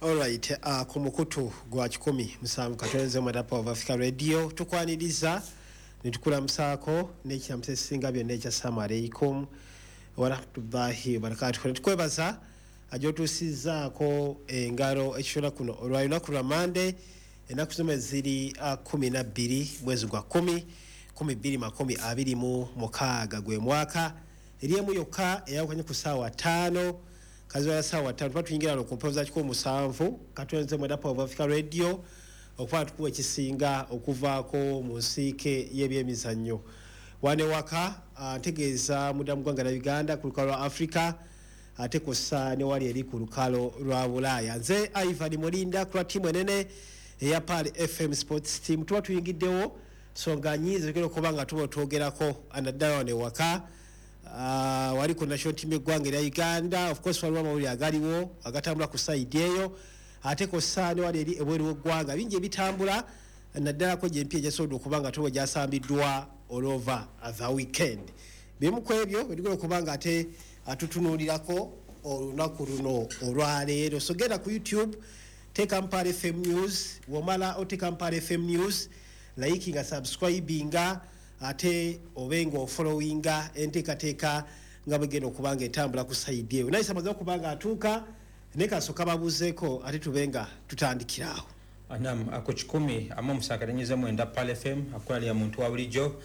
Alright, ku mukutu gwa 107.9 Power of Africa Radio tukwaniriza netukulamusaako n'ekiramuso ekisinga byonna ekya assalamu alaikum warahmatullahi wabarakatuh. Netukwebaza agyotuusizzaako engalo ekishola kuno olwa lunaku lwa Mande, ennaku zino ziri 12 mwezi gwa 10 2026 gwe mwaka, eriemu yokka eyawukanye ku ssaawa 5 kaziwala ssaawa 5 tuba tuyingira no ku mpewo za 107.9 Power of Africa Radio okuba tukuwa ekisinga okuvaako mu nsiike y'ebyemizannyo. Wane waka ntegeeza munda mu ggwanga lya Uganda ku lukalo lwa Africa, ate kw'ossa ne wali eri ku lukalo lwa Bulaaya. Nze Ivan Mulinda ku lwa ttiimu enene eya Pearl FM Sports Team tuba tuyingiddewo songa nnyingi tugenda okuba nga tuba twogerako naddala wano ewaka, wali ku national team y'eggwanga erya Uganda. Of course waliwo amawulire agaliwo agatambula ku sayidi eyo, ate kw'ossa ne wali eri ebweru w'eggwanga bingi ebitambula naddalako gy'empya egyasobodde okuba nga tuba gyasambiddwa all over the weekend. Bimu ku ebyo bye tugenda okuba nga ate atutunuulirako olunaku luno olwaleero. So genda ku YouTube, teeka Pearl FM News, womala oteeka Pearl FM News, likinga, subscribinga, ate obe nga ofollowinga enteekateeka nga bwegenda okuba nga etambula ku sayidi eyo. Naye samaze okuba nga atuuka naye kasooka babuuzeeko ate tube nga tutandikiraawo. Nam ako 107.9 Pearl FM akola muntu wa bulijjo.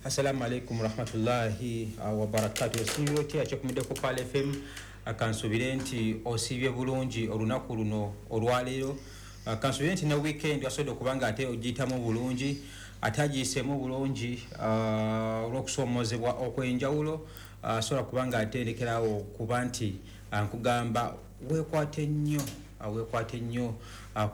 Assalamu alaikum warahmatullahi wabarakatuh. Osiibye otya akyekumidde ku Pearl FM? Kansubire nti osiibye bulungi olunaku luno olwaleero. Kansubire nti ne weekend wasobodde okuba nga ate ogiyitamu bulungi, ate agiyiseemu bulungi olw'okusoomozebwa okw'enjawulo. Asobola kuba nga ate ndekerawo kuba nti nkugamba weekwate nnyo, weekwate nnyo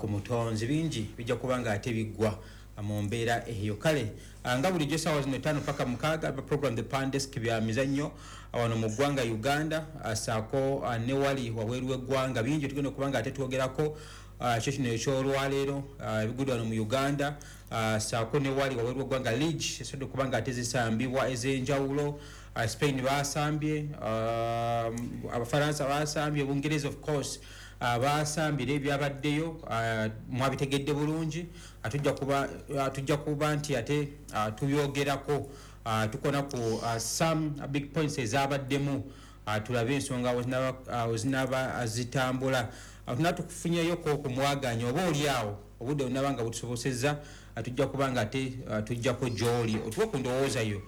ku mutonzi, bingi bijja kuba nga ate biggwa mu mbeera eyo. Kale nga bulijjo essaawa zino 5 paka 6 program The Pan Desk bya mizannyo wano mu ggwanga Uganda, ssaako ne wali wabweru w'eggwanga bingi tugenda okuba nga ate twogerako. Kyo kino ekyolwaleero ebigudde wano mu Uganda, ssaako ne wali wabweru w'eggwanga league esobodde okuba nga ate zisambibwa ez'enjawulo. Spain basambye, Abafaransa basambye, Bungereza of course basambye, ebyabaddeyo mwabitegedde bulungi. Tujja kuba nti ate tubyogerako, tukona ku some big points ezabaddemu, tulabe ensonga wezinaba zitambula. Tuna tukufunyeyoko ku mwaganya oba oli awo obudde bunaba nga butusobosezza, tujja kuba nga ate tujjako gy'oli otuwe ku ndowooza yo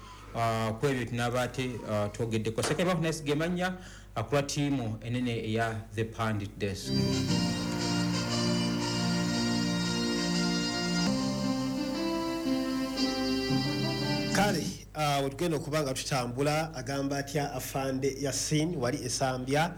ku ebyo tunaba ate twogeddeko. Sekebakunasigemanya kulwa ttiimu enene eya The Pandit Desk. Kale wetugenda okuba nga tutambula, agamba atya afande Yasin wali esambya,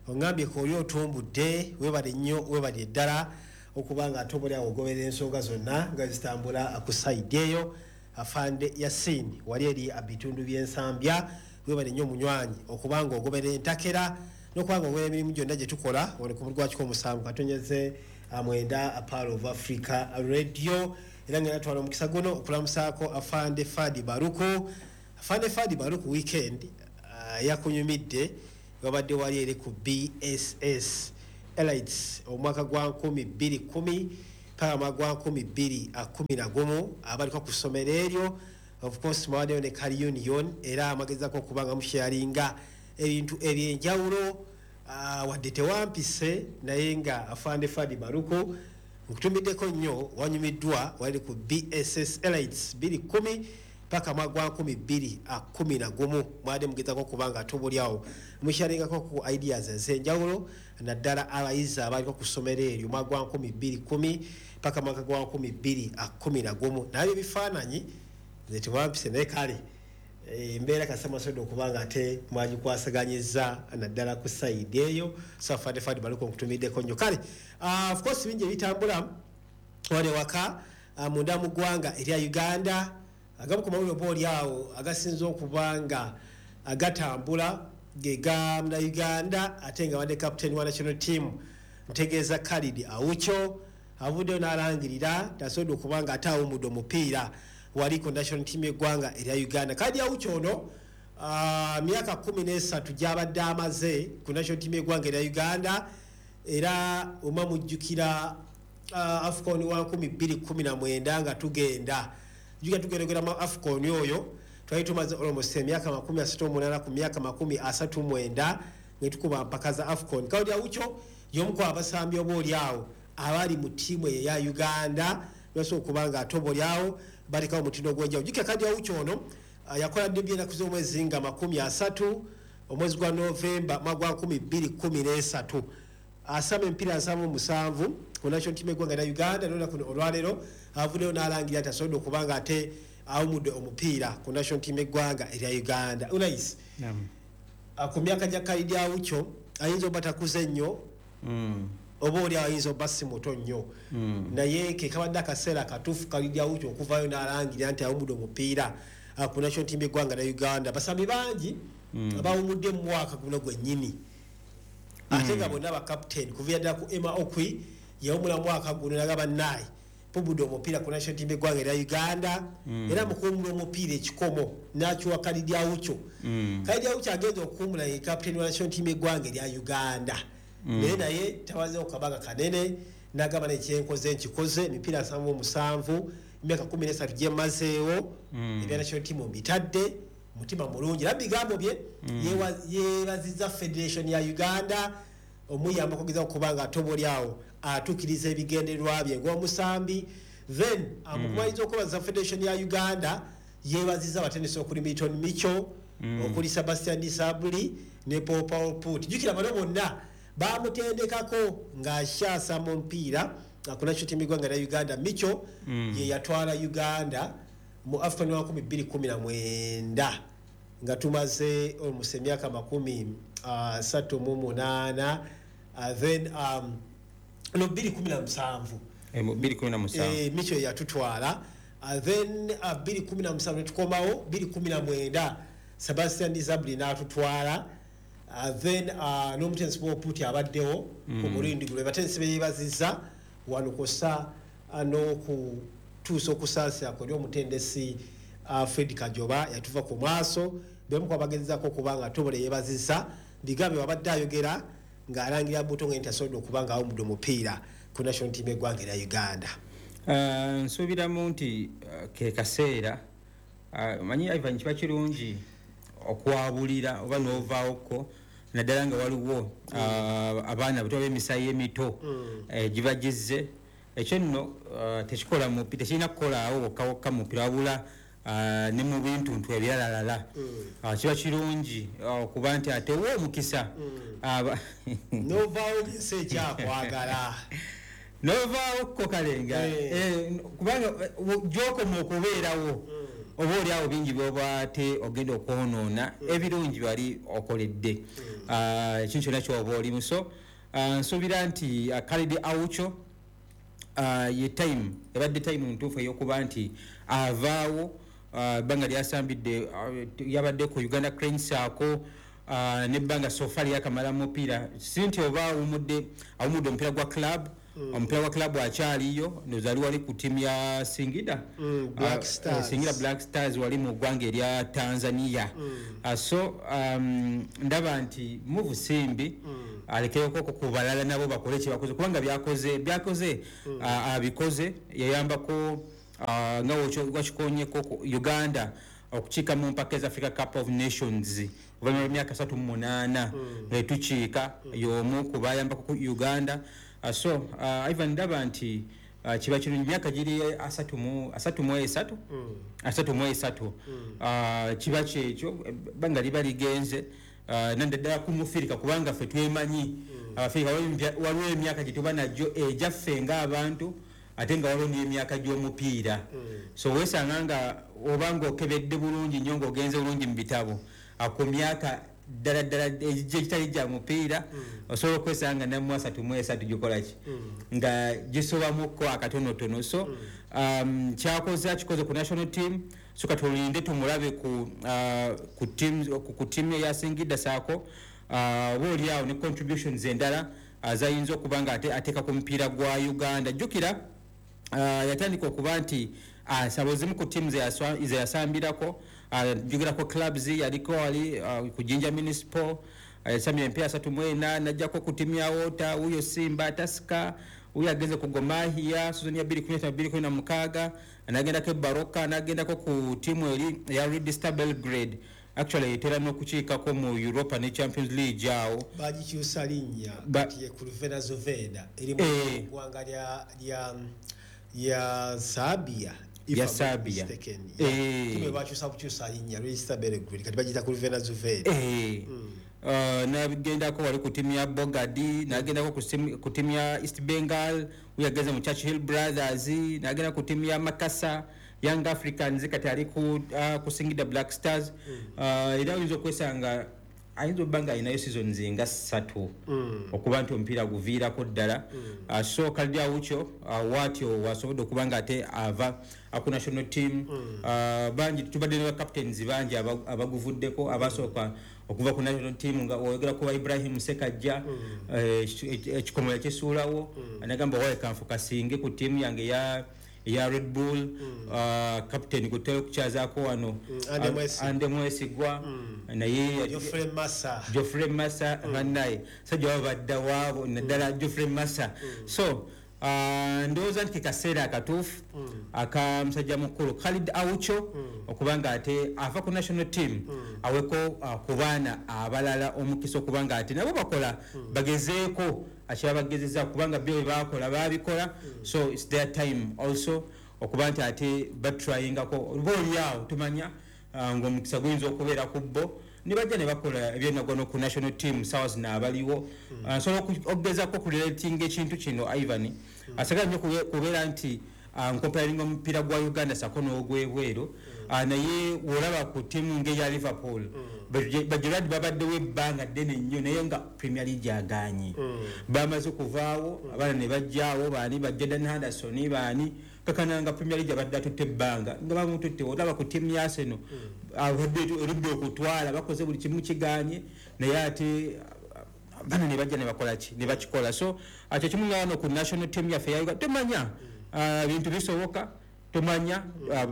ongambye ko oli otumbudde, webale nnyo, webale ddala okuba nga ate oba ogoberera ensonga zonna nga zitambula ku sayidi eyo. Afande Yasin wali eri bitundu by'ensambya, webale nnyo omunywanyi okuba nga ogoberera entakera n'okuba nga ogoberera emirimu gyonna gye tukola wano ku mulwa 107.9 Pearl of Africa Radio. Era ngenda twala omukisa guno okulamusaako afande Fadi Baruku. Afande Fadi Baruku, weekend yakunyumidde, wabadde wali eri ku BSS Elites omwaka gwa 2010 paka mwaka gwa 2011 abaliko ku ssomero eryo. Of course mwawaddeyo ne Kali Union, era amagezako okuba nga musharinga ebintu ebyenjawulo. Wadde tewampise, naye nga afande Fadi Baruku nkutumiddeko nnyo, wanyumiddwa wali ku BSS Elites 2010 paka mwaka gwa 2011, mwadde mugezako okuba nga tubulyawo musharingako ku ideas ez'enjawulo naddala abayizi abaliko ku ssomero eryo mwaka gwa 2010 paka mwaka gwa 2011. Naye ebifaananyi nze tewampise, naye kale embeera kasamasodo okuba nga ate mwagikwasaganyizza naddala ku sayidi eyo. So afande Fadi Baluko nkutumiddeko nnyo. Kale of course bingi ebitambula wali waka munda mu ggwanga erya Uganda. Agamu ku mawulire oba oli awo agasinze okuba nga agatambula ge ga Uganda, ate nga badde captain wa national team, ntegeeza Khalid Aucho, avuddeyo n'alangirira tasobodde okuba nga ate awummudde omupiira wali ku national team y'eggwanga erya Uganda. Khalid Aucho ono myaka 13 gy'abadde amaze ku national team y'eggwanga erya Uganda. Era oma mujjukira AFCON wa 2019 nga tugenda juga tugeregera mu AFCON oyo twali tumaze almost emyaka 38 ku myaka 39 ne tukuba mpaka za AFCON. Khalid Aucho y'omu ku abasambi oba oli awo abali mu ttiimu eyo eya Uganda basobola okuba nga ate oba oli awo balekawo omutindo ogw'enjawulo. Jjukira Khalid Aucho ono yakola debut ennaku z'omwezi nga 30 omwezi gwa Novemba mwaka gwa 2013, asamba emipiira 77 ku national team eggwanga lya Uganda. N'olunaku olwaleero avuddeyo n'alangira nti asobodde okuba nga ate awumudde omupiira ku national team eggwanga erya Uganda. Unais, ku myaka gya Khalid Aucho ayinza oba takuze nnyo, oba oli ayinza oba si muto nnyo, naye ke kabadde akaseera katuufu Khalid Aucho okuvaayo n'alangira nti awumudde omupiira ku national team eggwanga lya Uganda. Basambi bangi abawumudde mu mwaka guno gwennyini, ate nga bonna bakaputeni kuviira ddala ku Emma Okwi yawumula mwaka guno nagamba naayi pubudde omupiira ku national team eggwanga erya Uganda. Era mu kuwumula omupiira ekikomo n'akiwa Khalid Aucho. Khalid Aucho agenda okuwumula ye kaputeni wa national team eggwanga erya Uganda, naye tabazeewo kabaga kanene n'agamba nekyenkoze nkikoze, emipiira 77, emyaka 13 gyemazeewo ebya national team mbitadde, mutima mulungi. Era bigambo bye yeebazizza federation ya Uganda omuyamba okugeza okuba nga ate oba oli awo atuukiriza ebigendererwa bye ng'omusambi. Then amukumaliza okwebaza federation ya Uganda, yeebazizza abatendesi okuli Milton Micho, okuli Sebastian Desabre ne Paul Paul Put. Jjukira bano bonna bamutendekako ng'akyasa mu mupiira ku national team eggwanga lya Uganda. Micho ye yatwala Uganda mu AFCON wa 2019 nga tumaze almost emyaka 38, then no 2017. Mu 2017. Micho yatutwala, then 2017 netukomawo, 2019 Sebastian Desabre n'atutwala, then n'omutendesi Paul Put abaddewo ku mulundi guno. Batendesi beyeebazizza wano kw'ossa n'okutuusa okusaasira kwe eri omutendesi Fred Kajoba yatuva ku maaso. Bemu ku abagezezaako okuba nga Tobola yeebazizza bigambo wabadde ayogera ng'alangira buto nga nti asobodde okuba nga awumudde omupiira ku national team eggwanga erya Uganda. Nsuubiramu nti ke kaseera, manyi Ivan, kiba kirungi okwabulira oba n'ovaawoko, naddala nga waliwo abaana bato ab'emisayi emito giba gizze. Ekyo nno tekikola mupi, tekirina kukolaawo wokka wokka mupiira, wabula ne mu bintuntu ebiralalala. Kiba kirungi okuba nti ate wa omukisa Novaawo ng'ensi ekyakwagala. Novaawo ko kale nga kubanga gy'okoma okubeerawo oba oli awo bingi byoba ate ogenda okwonoona ebirungi bali okoledde ekintu kyonna kyoba olimu. So nsuubira nti Khalid Aucho ye time ebadde time ntuufu ey'okuba nti avaawo. Ebbanga lyasambidde, yabadde ku Uganda Cranes ako nebbanga so far lyakamala mupiira, si nti oba awumudde omupiira gwa club. Omupiira gwa club akyaliyo, ndowooza ali wali ku ttiimu ya Singida. Black Stars. Singida Black Stars wali mu ggwanga erya Tanzania. So ndaba nti move simbi, alekeyoko ku balala nabo bakole kyebakoze, kubanga byakoze abikoze, yayambako nga wakikonyeko ku Uganda okukiika mu mpaka eza Africa Cup of Nations oluvannyuma lw'emyaka 38 nga tukiika, y'omu ku bayambako ku Uganda. So Ivan, ndaba nti kiba kirungi, myaka giri 33, 33, kiba kyekyo ebbanga liba ligenze, naddala ku mufirika, kubanga ffe twemanyi Abafirika waliwo emyaka gye tuba nagyo egyaffe ng'abantu, ate nga waliwo n'emyaka gy'omupiira. So weesanga nga oba ng'okebedde bulungi nnyo, ng'ogenze bulungi mu bitabo, ku myaka ddala ddala egitali gya mupiira, osobola okwesanga namu 33 gikola ki nga gisobamuko akatonotono. So kyakoze akikoze ku national team, so katulinde tumulabe ku team eya Singida saako oba oli awo ne contributions endala zayinza okuba nga ateeka ku mupiira gwa Uganda. Jjukira yatandika okuba nti asaba ezimu ku ttiimu ze yasambirako, njogera clubs, yaliko wali ku Jinja Municipal, Yasamye empya 34 najjako ku timu ya Water, wuyo Simba, Tusker, wuyo agenze ku Gor Mahia season ya 2015-2016, nagendako e Baroka, nagendako ku timu eri ya Red Star Belgrade. Actually etera n'okukiikako mu Europa ne Champions League awo. Bagikyusa linnya kati ye Crvena Zvezda, eri mu ggwanga lya Serbia. Ya Serbia. Timu bakyusa bukyusa linnya, Red Star Belgrade kati bagiyita Crvena Zvezda. Nagendako wali ku timu ya Bogadi, nagendako ku timu ya East Bengal, uyageze mu Churchill Brothers, nagenda ku timu ya Makasa Young Africans, kati ali ku Singida Black Stars. Era oyinza okwesanga ayinza obba nga alinayo seasons nga 3 okuba nti omupiira guviirako ddala. So Khalid Aucho waatyo wasobodde okuba nga ate ava ku national team. Bangi tubadde ne ba captains bangi abaguvuddeko abasooka okuva ku national team, nga oyogera ku Ibrahim Sekajja, ekikomo yakisuulawo, nagamba waye kanfu kasinge ku tiimu yange ya Red Bull. Captain gutera okukyazaako wano Ande Mwesigwa, naye Geoffrey Massa bannaye sajja babadda waabo, naddala Geoffrey Massa. So ndowooza nti ke kaseera akatuufu aka musajja mukulu Khalid Aucho okuba nga ate ava ku national team, aweko ku baana abalala omukisa okuba nga ate nabo bakola, bagezeeko akyabagezeza, kubanga byo bye bakola babikola. So it's their time also okuba nti ate batryingako, oba oliawo tumanya ng'omukisa guyinza okubeera ku bo ne bajja ne bakola ebyenagono ku national team. Sawa zino abaliwo nsobola okugezako kurelatinga ekintu kino, Ivan, asagala nnyo kubeera nti nkomparinga omupiira gwa Uganda sako n'ogwebweru, naye wolaba ku ttiimu ng'eya Liverpool, Bagerard babaddewo ebbanga ddene nnyo, naye nga Premier League aganye, bamaze okuvaawo abaana ne bajjaawo baani, ba Jordan Henderson baani, kakananga Premier League abadde atutte ebbanga nga bamututte. Olaba ku ttiimu ya Arsenal, abadde erudde okutwala, bakoze buli kimu kiganye, naye ate bano ne bajja ne bakola ki, ne bakikola. So kye kimu nga wano ku national team yaffe ya Uganda, tomanya, ebintu bisoboka, tomanya,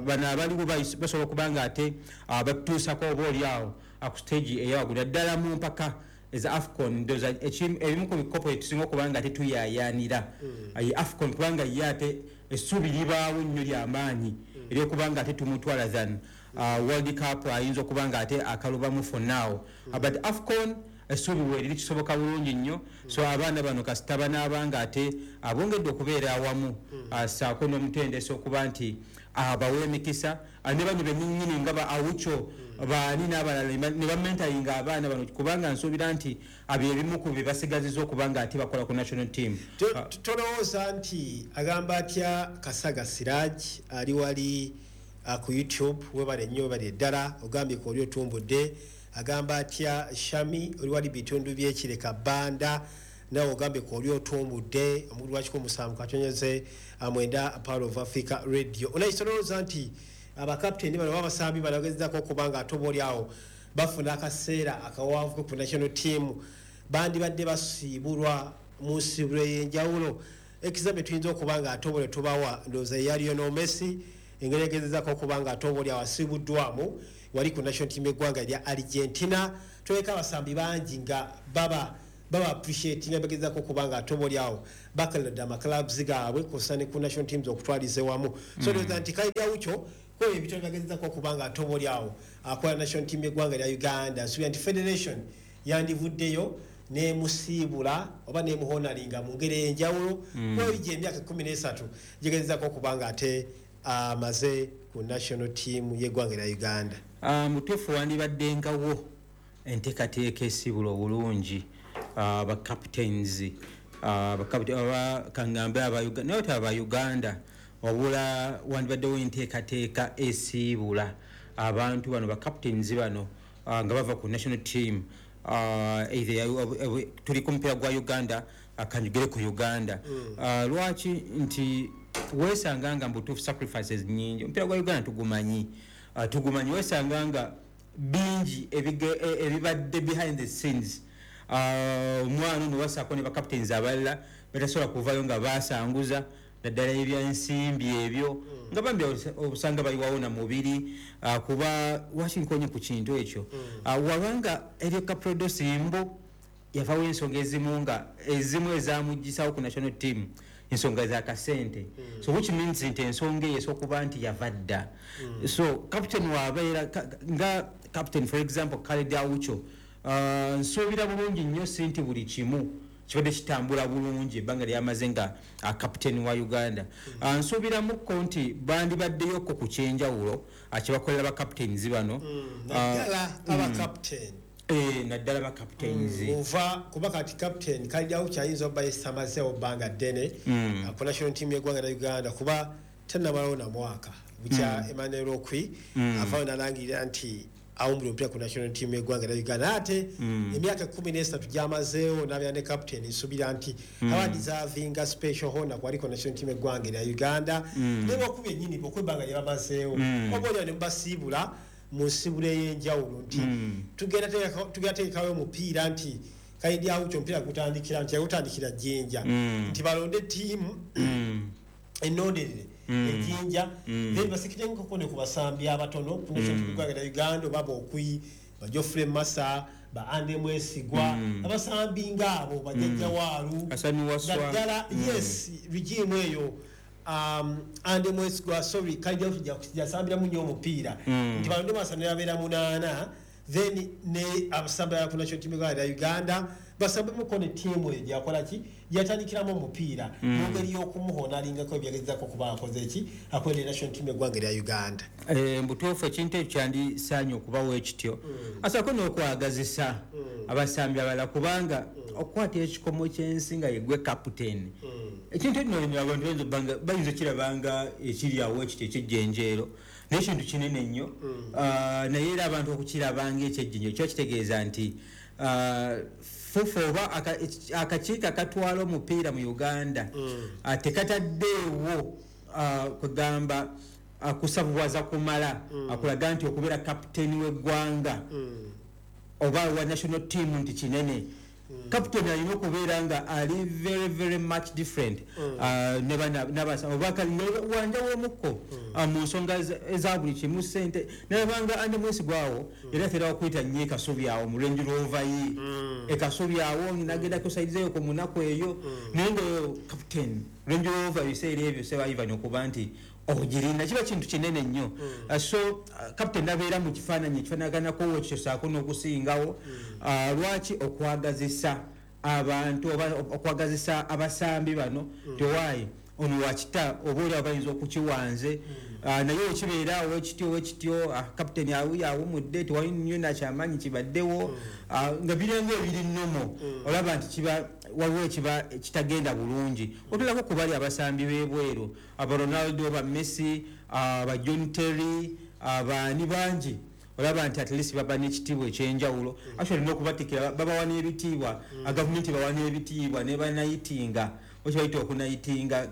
bano abaliwo basobola okuba nga ate batutuusako oba oli awo ku stage eyawaggulu, naddala mu mpaka eza AFCON. Ndowooza ebimu ku bikopo etusinga okuba nga ate tuyaayaanira ye AFCON, kubanga ye ate essuubi libaawo nnyo lyamaanyi eryokuba nga ate tumutwala than World Cup, ayinza okuba nga ate akalubamu for now. But AFCON essuubi weeriri, kisoboka bulungi nnyo. So abaana bano kasita banaaba nga ate abongedde okubeera awamu, ssaako n'omutendesi okuba nti abawa emikisa, ne bano bennyinnyini nga ba Aucho baani n'abalala ne bamentoringa abaana bano, kubanga nsuubira nti abyo ebimu ku bye basigaziza okuba nga ate bakola ku national team. Tolowooza nti agamba atya Kasaga Siraj ali wali ku YouTube? Webale nnyo, webale ddala, ogambye ku oli otumbudde. Agamba atya Shami oli wali bitundu byekireka Banda, nawe ogambye ku oli otumbudde omukulu wa 107.9 Power of Africa Radio. Onaye tolowooza nti abakapiteni bano babasambi bano bagezezako okuba nga ate oba oli awo bafuna akaseera akawanvu ku national team, bandibadde basiibulwa mu nsiibulwa ey'enjawulo? Example tuyinza okuba nga ate obole tubawa, ndowooza eya Lionel Messi, engeri egezezako okuba nga ate oba oli awo asiibuddwamu wali ku national team y'eggwanga lya Argentina. Tuleka abasambi bangi nga baba appreciate nga bagezezako okuba nga ate oba oli awo bakalidde amaclubs gaabwe kw'ossa ne ku national teams okutwaliza ewamu. So ndowooza nti Khalid Aucho kwebyo ebitone bagezezako okuba nga ate oba oli awo akola national team y'eggwanga lya Uganda, nsuubira nti federation yandivuddeyo nemusiibula oba nemuhonoringa mu ngeri ey'enjawulo kuba gye emyaka 13 gigezezako okuba nga ate amaze ku national team y'eggwanga lya Uganda. Mutuufu, wandibaddengawo enteekateeka esiibula obulungi bacaptains, kaŋŋambe aba Uganda, naye ate aba Uganda, wabula wandibaddewo enteekateeka esiibula abantu bano, bacaptains bano, nga bava ku national team. Either tuli ku mupiira gwa Uganda, kanjogere ku Uganda. Lwaki nti weesanga nga mbutuufu sacrifices nyingi, omupiira gwa Uganda tugumanyi, tugumanyi, weesanga nga bingi ebibadde behind the scenes. Omwana ono wasaako ne bacaptains abalala batasobola kuvayo nga basanguza, naddala ebyensimbi ebyo, nga bambi obusanga bayiwawo na mubiri. Kuba wakinkonye ku kintu ekyo, wabanga eryo kaprodosi mbu Yavawo ensonga ezimu nga ezimu ezamugisawo ku national team, ensonga za kasente. So which means nti ensonga eyo esooka okuba nti yava dda. So captain wabeera nga captain, for example Khalid Aucho, nsuubira bulungi nnyo si nti buli kimu kibadde kitambula bulungi ebbanga lyamaze nga captain wa Uganda. Nsuubiramukko nti bandibaddeyokko ku kyenjawulo kyebakolera ba captains bano. Naddala aba captain. Naddala ba captains. Ova kuba kati captain Khalid Aucho ayinza obba yesamazeewo bbanga ddene ku national team y'eggwanga lya Uganda, kuba tannamalawo na mwaka bukya Emmanuel Okwi avaayo n'alangirira nti awumbula omupiira ku national team y'eggwanga lya Uganda. Ate emyaka 13 gy'amazeewo n'abeera ne captain, nsuubira nti aba deservinga special honor kwaliko national team y'eggwanga lya Uganda. Ne boku bennyini okw'ebbanga lye bamazeewo, oba oliawo ne mubasiibula mu nsibula ey'enjawulo nti tugenda teekawo omupiira nti Khalid Aucho omupiira gutandikira nti yagutandikira Jjinja, nti balonde ttiimu ennonderere ejjinja, then basikire enkoko ne ku basambi abatono ku national team y'eggwanga lya Uganda, oba Bokwi, ba Geoffrey Massa, ba Ande Mwesigwa, abasambi ng'abo bajjajja Waalu naddala. Yes, regime eyo, Ande Mwesigwa, sorry, Khalid Aucho jasambiramu nnyo omupiira, nti balonde basambi babeera 8, then ne abasambi ku national team y'eggwanga lya Uganda basambemuko ne ttiimu eyo gyakola ki gyatandikiramu omupiira mu ngeri y'okumuhonalingako ebyagezako kuba akoze ki akolera national team y'eggwanga lya Uganda. Mbutuufu ekintu ekyo kyandisaanye okubawo ekityo, asaako n'okwagazisa abasambi abalala, kubanga okukwata ekikomo ky'ensi nga yegwe captain, ekintu eno abantu bayinza okirabanga ekiri awo ekityo ekyejjenjeero, naye ekintu kinene nnyo. Naye era abantu okukirabanga ekyejjenjeero kiba kitegeeza nti FUFA oba akakiiko akatwala omupiira mu Uganda tekataddeewo kugamba kusabuwaza kumala akulaga nti okubeera kapiteeni w'eggwanga oba wa national team nti kinene. Captain alina okubeera nga ali very very much different wanjawomukko mu nsonga eza buli kimu, sente nabanga Ande Mwesigwa awo era atera okuyita nnyo ekasubi awo mu Range Rover ye ekasubi awo nagenda kusaidizeyo ku munaku eyo, naye nga captain Range Rover ebiseera ebyo seba Ivan okuba nti ogirina kiba kintu kinene nnyo. So captain nabeera mu kifaananyi ekifaanaganako ekyo saako n'okusingawo. Lwaki okwagazisa abantu oba okwagazisa abasambi bano tewaayi ono wakita oba oli abayinza okukiwanze, naye okibeera awo ekityo ekityo captain awuyo awumudde tewali nnyo nakyamaanyi kibaddewo, nga birenga ebiri nnomo, olaba nti kiba waliwo ekiba kitagenda bulungi. Otulako ku bali abasambi b'ebweru, aba Ronaldo, ba Messi, aba John Terry, abaani bangi, olaba nti at least baba n'ekitiibwa ekyenjawulo. Actually n'okubatikira babawa n'ebitiibwa, gavumenti bawa n'ebitiibwa ne banayitinga, okibayita okunayitinga,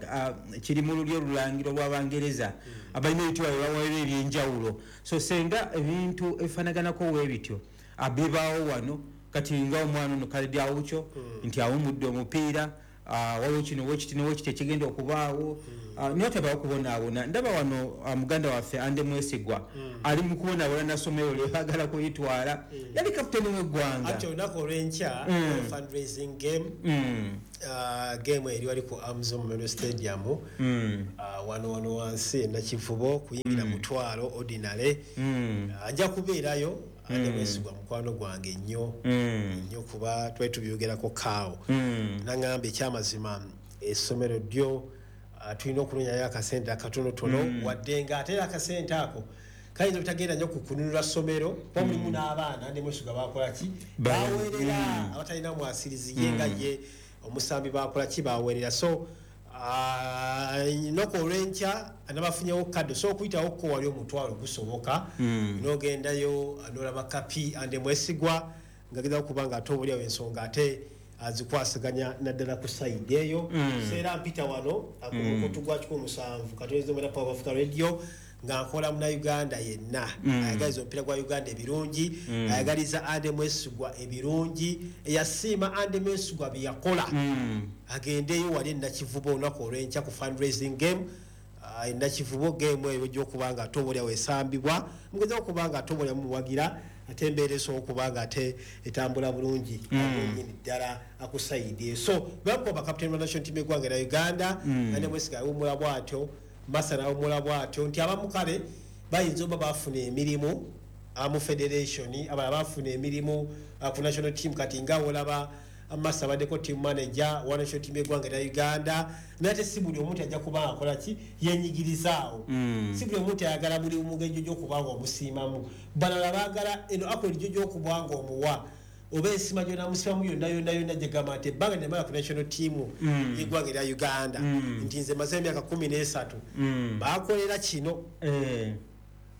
kiri mu lulyo olulangiro lw'Abangereza, abalina ebitiibwa bye baweerwa ebyenjawulo. So senga ebintu ebifaanaganako weebityo bibaawo wano kati nga omwana ono Khalid Aucho nti awumudde omupiira, waliwo kino wekiti newekiti ekigenda okubaawo, naye tabawo kubonaabona. Ndaba wano muganda waffe Ande Mwesigwa ali mu kubonaabona nasomero lye baagala kuyitwala, yali kapiteeni w'eggwanga. Ate olunaku olw'enkya fundraising game, game eri wali ku Amzo Memorial Stadium, wano wansi Nakivubo, kuyingira 5,000 ordinary. Nja kubeerayo. Ande Mwesigwa mukwano gwange nnyo nnyo, kuba twali tubyogerako kaawo, naŋŋamba ekyamazima essomero ddyo tulina okunoonyayo akasente akatonotono, wadde nga ate era akasente ako kayinza obutagenda nnyo ku kununula ssomero, kuba mulimu n'abaana Ande Mwesigwa bakola ki baweerera, abatalina mwasirizi ye nga ye omusambi bakola ki baweerera. So noko olw'enkya nabafunyewo kadde so okuyitawo ko wali 5,000 gusoboka, n'ogendayo n'olaba kapi Ande Mwesigwa nga gezaako kuba nga ate obuliawo ensonga ate azikwasaganya naddala ku sayidi eyo. Seera mpita wano ku mukutu gwa 107.9 Power Africa Radio nga nkola Munnayuganda yenna ayagaliza omupiira gwa Uganda ebirungi, ayagaliza Ande Mwesigwa ebirungi, eyasiima Ande Mwesigwa bye yakola, agendeyo wali Nakivubo olunaku olw'enkya ku fundraising game Nakivubo. Game eyo ejja okuba nga ate oba oliawo esambibwa, mugeza okuba nga ate oba oliawo muwagira Ate embeera esobola okuba nga ate etambula bulungi nyini ddala akusaidie. So bamukuba bakapiteni ba national team eggwanga erya Uganda, ane Mwesiga awummula bwatyo, Masa nawummula bwatyo, nti abamu kale bayinza oba bafuna emirimu mu federation, abalala bafuna emirimu ku national team. Kati nga olaba Masa abaddeko team manager wa national team eggwanga erya Uganda, naye ate si buli omuntu ajja kuba akola ki, yenyigirizaawo. Si buli omuntu ayagala buli mugenjo gy'okuba nga omusiimamu. Balala baagala eno akola gyo gy'okuba nga omuwa oba ensima gyonamusimamu yonna yonna yonna, gyegamba nti ebbanga nemala ku national team yeggwanga erya Uganda, nti nze maze emyaka 13, bakolera kino.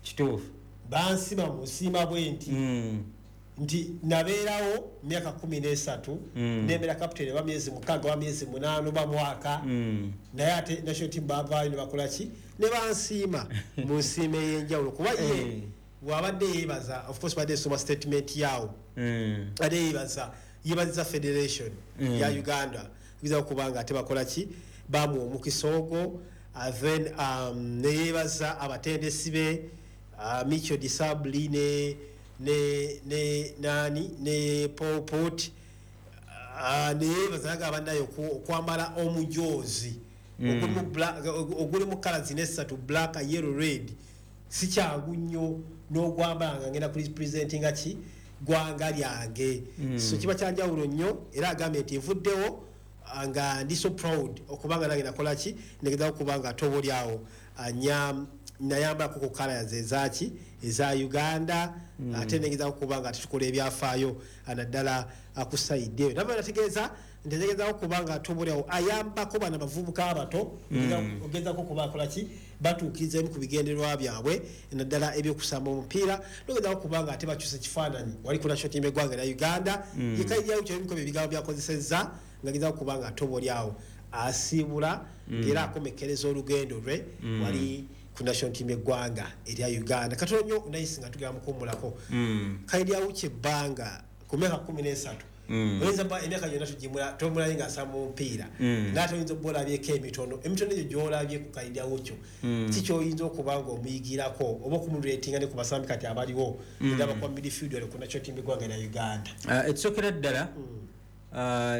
Kituufu. Bansima mu nsiima bwe nti nti nabeerawo myaka 13, nembeera kapiteni oba myezi 6 oba myezi 8 oba mwaka, naye ate national team bavaayo ne bakola ki, ne bansiima mu nsiima ey'enjawulo. Kuba ye bw'abadde yeebaza, of course badde esoma statement yaawo, ate yeebaza, yeebaziza federation ya Uganda biza okuba nga ate bakola ki, bamuwa omukisa ogwo. Then neyeebaza abatendesi be, Micho Disabli ne nani ne Paul Pot, neyeebaza naga abannaye okwambala omujoozi oguli mu kala zino essatu, black, yellow, red, si kyangu nnyo n'ogwambala nga ngenda kurepresentinga ki, ggwanga lyange. So kiba kyanjawulo nnyo. Era agambye nti nvuddewo nga ndi so proud okubanga nange nakola ki, negezaako okuba nga ate oba oli awo nayambalako ku kala ze ezaki, eza Uganda, ate negezaako okuba nga tukola ebyafaayo, naddala ku side eyo. Nava nategeeza nti ategezaako okuba nga ate oba oli awo ayambako bano abavubuka abato, ogezaako okuba akola ki, batuukiriza emu ku bigendererwa byabwe, naddala ebyokusamba omupiira, nogezaako okuba nga ate bakyusa ekifaananyi wali ku national team eggwanga erya Uganda. Yekairyawo kyebimiko ebigambo byakozesezza nga gezaako okuba nga ate oba oli awo asiibula, ng'era akomekkereza olugendo lwe wali ku national team eggwanga erya Uganda. Katono nnyo nayisi nga tugenda mukuwummulako. Kairyawo kyebbanga ku myaka 13, oyinza ba emyaka gyonna tugimula tomulaye ng'asamba omupiira, naye ate oyinza okuba olabyeko emitono emitono egyo gy'olabye ku Kairyawo kyo, ki kyoyinza okuba nga omuyigirako oba okumuretinga ne ku basambi kati abaliwo era bakuba midfield wali ku national team eggwanga erya Uganda? Ekisookera ddala,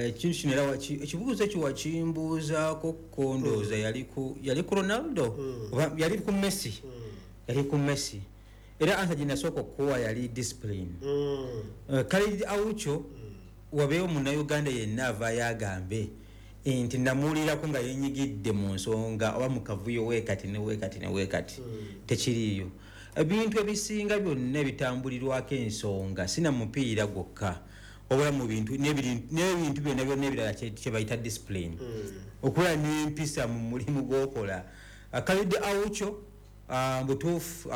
ekintu kino era ekibuuzo ekyo wakimbuuzaako ko, ndowooza yali ku Ronaldo oba yali ku Messi? Yali ku Messi. Era answer gye nasooka okuwa yali discipline. Khalid Aucho, wabeewo munnayuganda yenna avaayo agambe nti namuwulirako nga yenyigidde mu nsonga oba mu kavuyo weekati ne weekati ne weekati, tekiriiyo. Ebintu ebisinga byonna ebitambulirwako ensonga, sina mupiira gwokka, wabula mu bintu n'ebintu byonna byonna ebirala, kye bayita discipline, okubeera n'empisa mu mulimu gw'okola. Khalid Aucho, butuufu,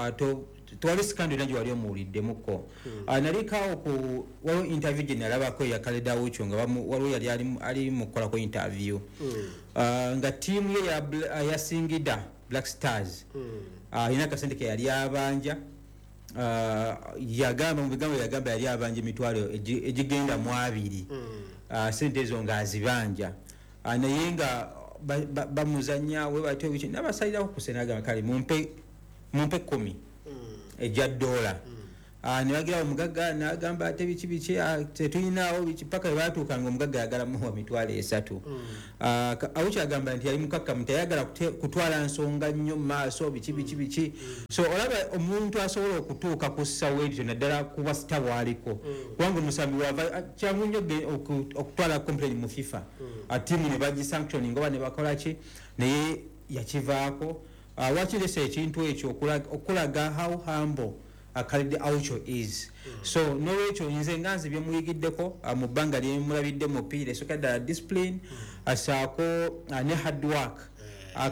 tewali scandal yonna gye wali omuwuliddemuko. Nalikaawo ku waliwo interview gye nalabako eya Khalid Aucho nga waliwo yali ali mu kukolako interview, nga ttiimu ye ya Singida Black Stars alina akasente ke yali abanja. Yagamba mu bigambo, yagamba yali abanja emitwalo egigenda mu 20. Sente ezo ng'azibanja, naye nga bamuzanya we batyo biki, nabasalirako ku sente, agamba kale mumpe 10 ejja dola. Ne bagira omugagga n'agamba ate biki biki, tetuyinaawo biki, paka bwe baatuukanga omugagga ayagala muwa 300,000. Aucho agamba nti yali mukakkamu, teyayagala kutwala nsonga nnyo mu maaso, biki biki biki. So olaba omuntu asobola okutuuka ku ssawa ekyo, naddala kuba sita bw'aliko, kubanga omusambi wava kyangu nnyo okutwala complain mu FIFA, ttiimu ne bagisanctioning oba ne bakola ki, naye yakivaako. Wakiresa ekintu ekyo okulaga how humble Khalid Aucho is. So nolwekyo nze nga nze byemuyigiddeko mu bbanga lyemulabidde mupiira, esooka ddala discipline, asaako ne hard work.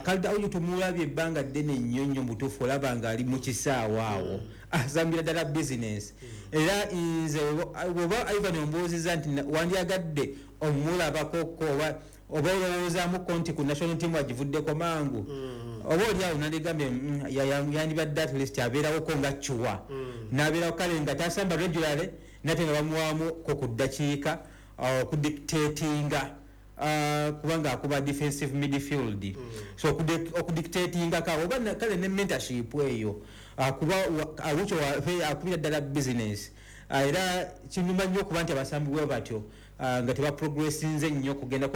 Khalid Aucho tumulabye ebbanga ddene nnyo nnyo, mubutuufu olaba nga ali mu kisaawe awo asambira ddala business. Era nze bw'oba Ivan ombuuzizza nti wandyagadde omulabakoko oba olowoozaamuko nti ku national team agivuddeko mangu, oba oli awo nandigambye yandibadde at least abeerawoko nga cuwa, n'abeerawo kale nga tasamba regularly, nate nga bamuwaamuko ku ddakiika okudictatinga, kubanga akuba defensive midfield. So okudictatinga kawo oba kale ne mentorship eyo, kuba Aucho akubira ddala business. Era kinuma nnyo okuba nti abasambi bwe batyo nga tebaprogressinze nnyo kugenda.